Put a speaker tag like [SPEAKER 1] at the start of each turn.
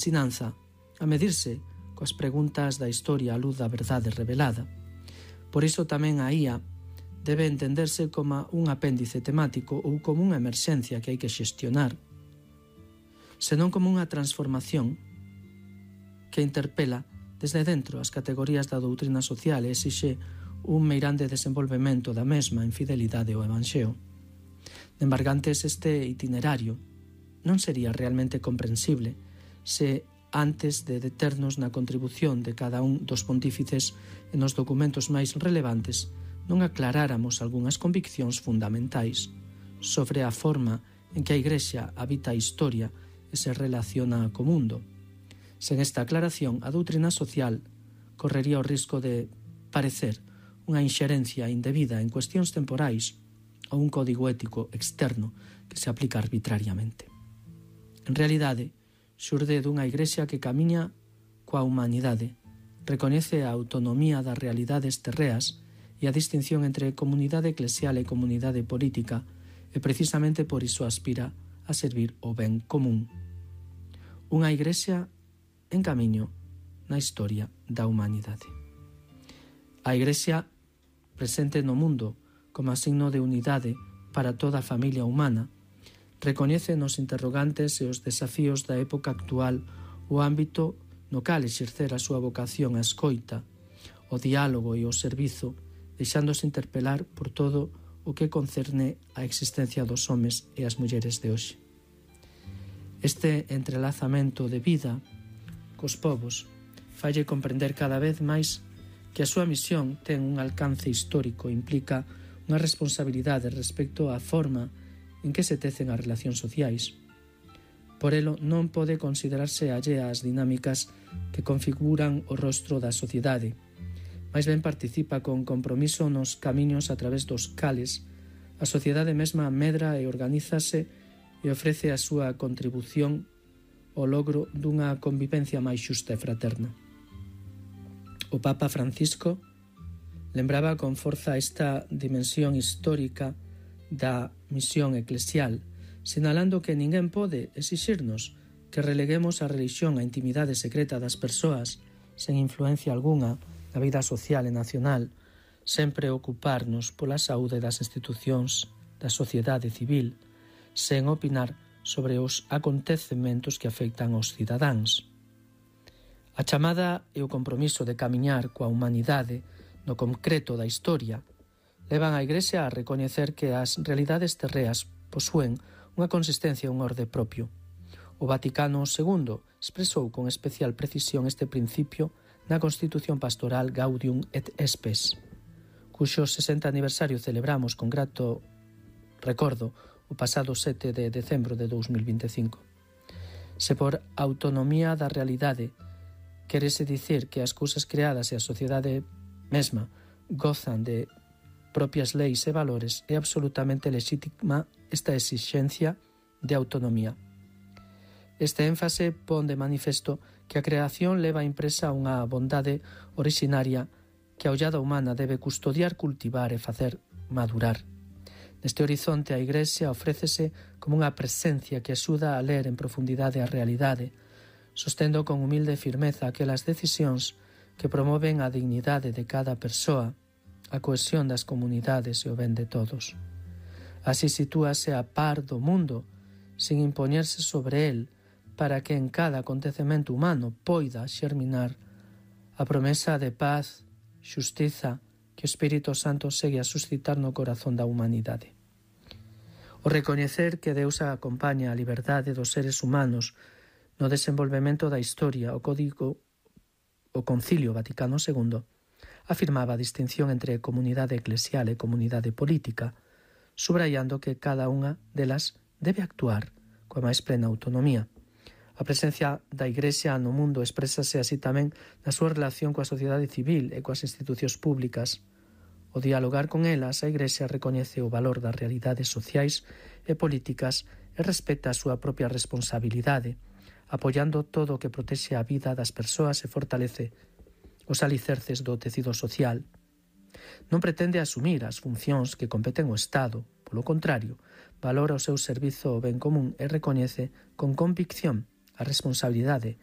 [SPEAKER 1] ensinanza a medirse coas preguntas da historia á luz da verdade revelada. Por iso tamén a IA debe entenderse como un apéndice temático ou como unha emerxencia que hai que xestionar, senón como unha transformación que interpela desde dentro as categorías da doutrina social e exixe un meirande desenvolvemento da mesma en fidelidade ao Evanxeo. De embargantes, este itinerario non sería realmente comprensible se antes de deternos na contribución de cada un dos pontífices e nos documentos máis relevantes non aclaráramos algunhas conviccións fundamentais sobre a forma en que a Igrexa habita a historia e se relaciona co mundo. Sen esta aclaración, a doutrina social correría o risco de parecer unha inxerencia indebida en cuestións temporais ou un código ético externo que se aplica arbitrariamente. En realidade, xurde dunha Igrexa que camiña coa humanidade, recoñece a autonomía das realidades terreas e a distinción entre comunidade eclesial e comunidade política e precisamente por iso aspira a servir o ben común. Unha Igrexa en camiño na historia da humanidade. A Igrexa presente no mundo como signo de unidade para toda a familia humana, recoñece nos interrogantes e os desafíos da época actual o ámbito no cal exercer a súa vocación á escoita, o diálogo e o servizo, deixándose interpelar por todo o que concerne á existencia dos homes e as mulleres de hoxe. Este entrelazamento de vida cos povos falle comprender cada vez máis que a súa misión ten un alcance histórico e implica unha responsabilidade respecto á forma en que se tecen as relacións sociais. Por elo, non pode considerarse allea ás dinámicas que configuran o rostro da sociedade. Mais ben participa con compromiso nos camiños a través dos cales a sociedade mesma medra e organízase e ofrece a súa contribución ao logro dunha convivencia máis xusta e fraterna. O Papa Francisco lembraba con forza esta dimensión histórica da misión eclesial, sinalando que ninguén pode exixirnos que releguemos a religión á intimidade secreta das persoas sen influencia algunha na vida social e nacional, sen preocuparnos pola saúde das institucións da sociedade civil, sen opinar sobre os acontecementos que afectan aos cidadáns. A chamada e o compromiso de camiñar coa humanidade no concreto da historia levan a Igrexa a recoñecer que as realidades terreas posúen unha consistencia e un orde propio. O Vaticano II expresou con especial precisión este principio na Constitución Pastoral Gaudium et Spes, cuxo 60 aniversario celebramos con grato recordo o pasado 7 de decembro de 2025. Se por autonomía da realidade querese dicir que as cousas creadas e a sociedade mesma gozan de propias leis e valores, é absolutamente lexítima esta exixencia de autonomía. Este énfase pon de manifesto que a creación leva impresa unha bondade orixinaria que a ollada humana debe custodiar, cultivar e facer madurar. Neste horizonte a Igrexa ofrécese como unha presencia que axuda a ler en profundidade a realidade, sostendo con humilde firmeza aquelas decisións que promoven a dignidade de cada persoa, a cohesión das comunidades e o ben de todos. Así sitúase a par do mundo, sin impoñerse sobre el, para que en cada acontecemento humano poida xerminar a promesa de paz, xustiza, que o Espírito Santo segue a suscitar no corazón da humanidade. O recoñecer que Deus acompaña a liberdade dos seres humanos no desenvolvemento da historia, o Concilio Vaticano II afirmaba a distinción entre comunidade eclesial e comunidade política, subrayando que cada unha delas debe actuar coa máis plena autonomía. A presencia da Igrexa no mundo exprésase así tamén na súa relación coa sociedade civil e coas institucións públicas. O dialogar con elas, a Igrexa recoñece o valor das realidades sociais e políticas e respecta a súa propia responsabilidade, apoiando todo o que protexe a vida das persoas e fortalece os alicerces do tecido social. Non pretende asumir as funcións que competen ao Estado, polo contrario, valora o seu servizo ao ben común e recoñece con convicción a responsabilidade